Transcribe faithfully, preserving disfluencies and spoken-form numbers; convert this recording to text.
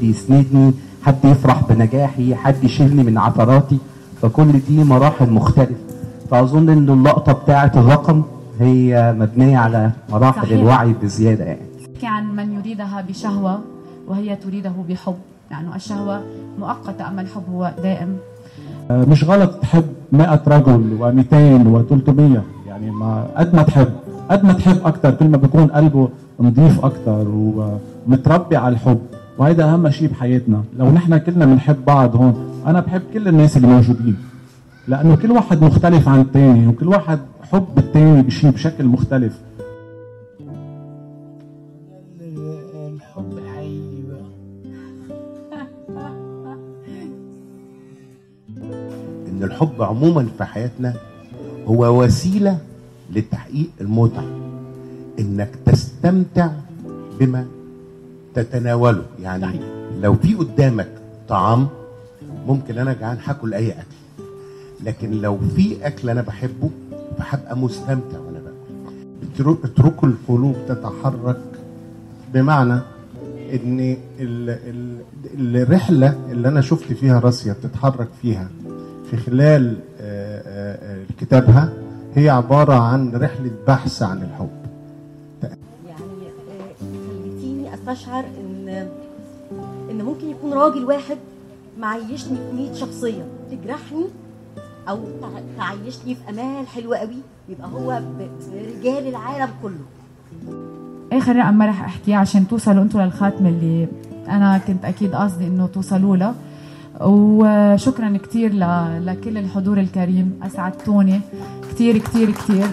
يسندني، حد يفرح بنجاحي، حد يشيلني من عثراتي. فكل دي مراحل مختلفة. فأظن إن اللقطة بتاعة الرقم هي مبنية على مراحل صحيح. الوعي بزيادة يعني. عن من يريدها بشهوة وهي تريده بحب، يعني الشهوة مؤقتة أما الحب هو دائم. مش غلط تحب مئة رجل ومئتين وثلاثمية، يعني ما قد ما تحب قد ما تحب أكتر كل ما بيكون قلبه نظيف أكتر ومتربي على الحب، وهيدا أهم شيء بحياتنا. لو نحن كلنا بنحب بعض هون، أنا بحب كل الناس اللي موجودين لأنه كل واحد مختلف عن الثاني، وكل واحد حب الثاني بشيء بشكل مختلف. الحب الحقيقي بقى إن الحب عموما في حياتنا هو وسيلة لتحقيق المتعة، إنك تستمتع بما تتناوله. يعني صحيح. لو في قدامك طعام ممكن أنا جعان هاكل أي أكل، لكن لو في أكل أنا بحبه فهبقى مستمتع وأنا باكل. اتركوا القلوب تتحرك، بمعنى إن ال ال الرحلة اللي أنا شفت فيها راسيا بتتحرك فيها في خلال كتابها هي عبارة عن رحلة بحث عن الحب. يعني خليتيني استشعر ان ان ممكن يكون راجل واحد معيشني في مية شخصية تجرحني او تعيشني في امال حلوة قوي، يبقى هو رجال العالم كله. اخر رقم ما رح احكيه عشان توصلوا انتوا للخاتمة اللي انا كنت اكيد قصدي انه توصلوا لها. وشكرا كتير لكل الحضور الكريم، اسعدتوني كتير كتير كتير